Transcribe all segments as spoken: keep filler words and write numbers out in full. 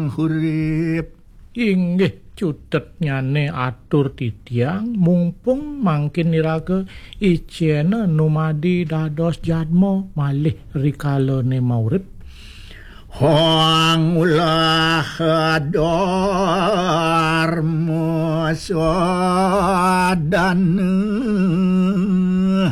hurip. Inggih cutetnyane atur titiang, mumpung mangkin iraga icena numadi dados jadma malih rikalane maurip. Hang ulah dharma sadana.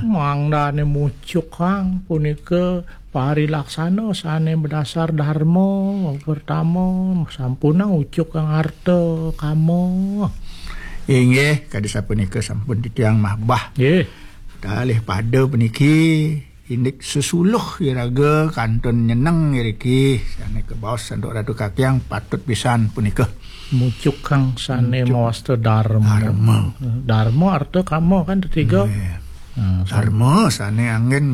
Mangdane mucuk hang punika parilaksana sane madasar dharma. Pertama, sampunang ucuk kang arta kama. Inggih, kadi sapunika sampun titiang mabah. Nggih. Kalih pada puniki indik sesuluh iraga kantun nyeneng iriki. Sane kabaos antuk Ratu Kakiang patut pisan punika. Mucuk kang sane mawasta dharma. Dharma. Dharma arta kama kan tetiga. Nggih. Nah, dharma sane anggen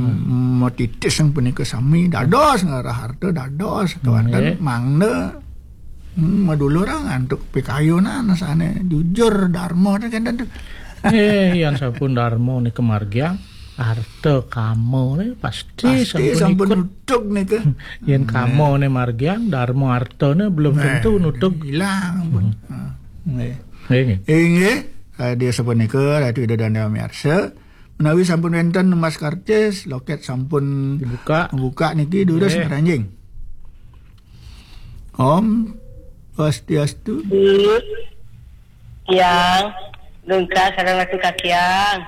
matitis sang punika sami dados ngarah arta dados kewanten mangda hmm, madulurang antuk pikayunan sane jujur dharma ten kenten tu. Eh, yang sampun dharma nika margiang arta kama ne pasti pasti sampun sampun ikut. Nutug nika. Yen kama ne margiang dharma arta ne belum tentu nutug. Hilang pun. Hmm. Nggih. Nggih, nggih. Inggih, eh, dia sapunika Ratu Ida Dane Miarsa. Menawi sampun wenten emas karcis, loket sampun dibuka. Buka niki durus nggih. Ngranjing. Om Swastiastu. Yang lengkap sareng Ratu Kakiang.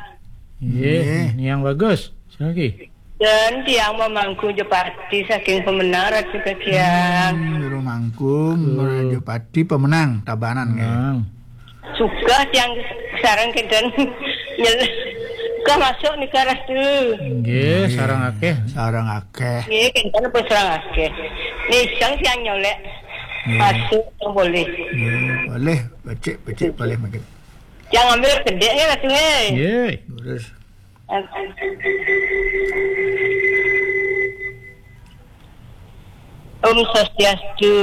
Nggih, nggih. Yang bagus. Sing lagi. Dan tiang mamangku Jepati saking Pemenang Ratu Kakiang. Hmm, Juru Mangku, Jepati Pemenang, Tabanan nggih. Menang. Suka tiang sareng kenten nyel-, suka masuk nika Ratu. Nggih, sareng akeh. Sareng akeh. Nggih, kenten pun sareng akeh. Nisang tiang nyolek. Nggih. Masuk yang boleh. Nggih, boleh. Becik, becik boleh mungkin. Tiang ambil kedek nggih Ratu nggih. Nggih. Terus. Om Swastiastu.